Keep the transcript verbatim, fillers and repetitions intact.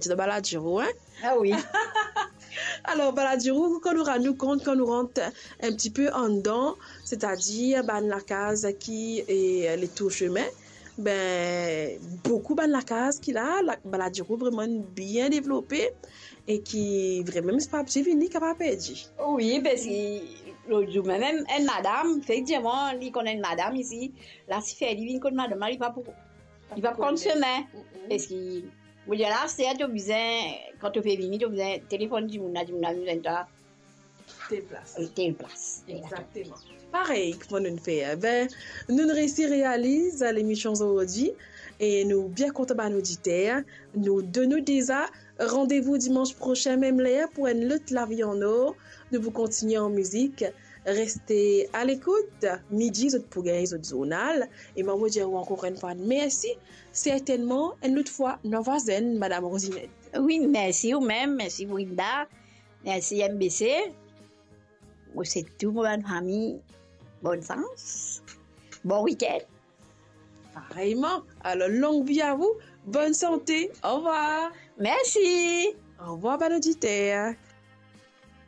ti dan Baladiro, hein? Ah oui. Alor, Baladiro, kan nou rann nou kont, kan nou rant un petit peu andan, c'est-à-dire bann lakaz ki, eh, letour chemin, ben, boukou bann lakaz ki la, la, Baladiro vreman bien devlope e ki vreman, si pa ti vini, kapav perdi. Oui, parski lot zour mem, enn madam, efektivman, li konn enn madam isi, la, si fer li vinn kot madam la, li pa pou, li pa pou konn semin. Mm-mm. Parski, mo dir la, aster to bizin, kan to pe vini, to bizin telefonn dimoun la, dimoun la bizin twa. Tel plas. Tel plas. Exactement. Parey, kouma nou fer? Ben, nou resi realiz lemision zordi e nou bien kontan bann oditer. Nou donn nou deza randevou dimans prosin, mem ler, pou enn lot Lavi an Or. Nou pou kontigne an mizik. Reste a lekout. Midi, zot pou gagn zot zournal. E mo dir ou ankor enn fwa mersi. Sertennman, enn lot fwa, nou vwazin, Madam Rosinette. Oui, mersi ou mem, mersi Brinda, mersi M B C. Mo swet tou mo bann fami bonn sans, bon wikenn. Pareyman. Alor, long vi a ou, bonn sante. Orvwar. Mersi. Orvwar, bann oditer.